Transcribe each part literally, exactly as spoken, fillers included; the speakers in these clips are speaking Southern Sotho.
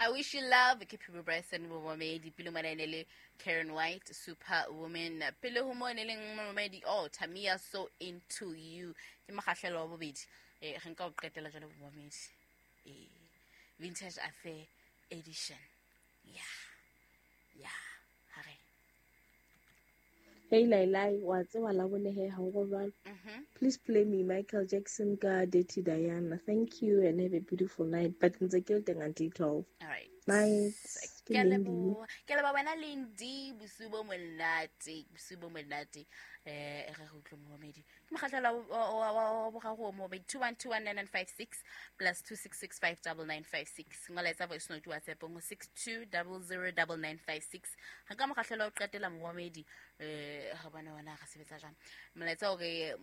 I wish you love ke Phibo Bryson momamedi pele mona ene le Karen White Superwoman pele ho mo ne leng momamedi oh Tamia So Into You ke mokgahlelo wa bobedi eh re nka o qetela jwale momamedi eh Vintage Affair edition yeah yeah hare. Hey Lailai, wa tseba la bone he ha o robala. Please play me Michael Jackson ka Dirty Diana. Thank you and have a beautiful night. But ntse ke le teng until twelve. All right. Night. Ke a leboha. Ke leboha wena Lindy, bosiu bo monate, bosiu bo monate. Eh re go utlwe momamedi. Ke mokgahlelo wa wa boraro o momamedi two one two one nine nine five six plus two six six five nine nine five six. Ngola etsa voice note WhatsApp go six two zero zero nine nine five six. Ha ka mokgahlelo o qetela momamedi eh ga bona wena ga sebetsa jang. Molaetsa o re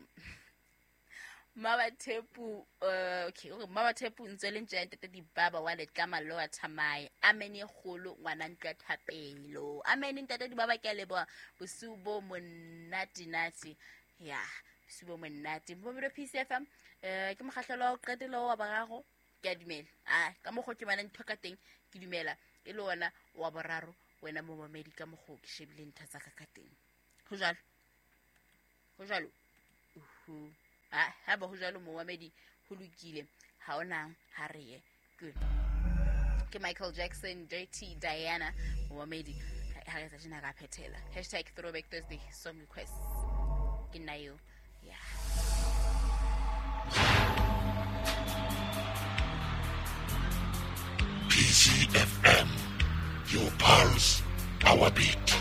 Mama Thepu uh, okay o re Mama Thepu ntse le ntse ntate Dibaba wa letlama lo wa thamae amen e kgolo ngwana ntwa thapelo amen ntate Dibaba ke a leboha bosiu bo monate nate ya bosiu bo monate Mbomelo P C F M eh ke mokgahlelo wa ho qetela wa boraro ke a dumela ah ka mokgo ke bana ntho ka teng ke dumela e le ona wa boraro wena momamedi ka mokgo ke shebile ntho tsa ka ka teng ho jwalo ho jwalo uhu ah ha ba ho jwalo momamedi ho lokile ha ona ha re ye good ke Michael Jackson Dirty Diana momamedi ha re tsa tjena ka phethela hashtag throwback Thursday song requests ke nna eo yeah. P C F M, your pulse, our beat.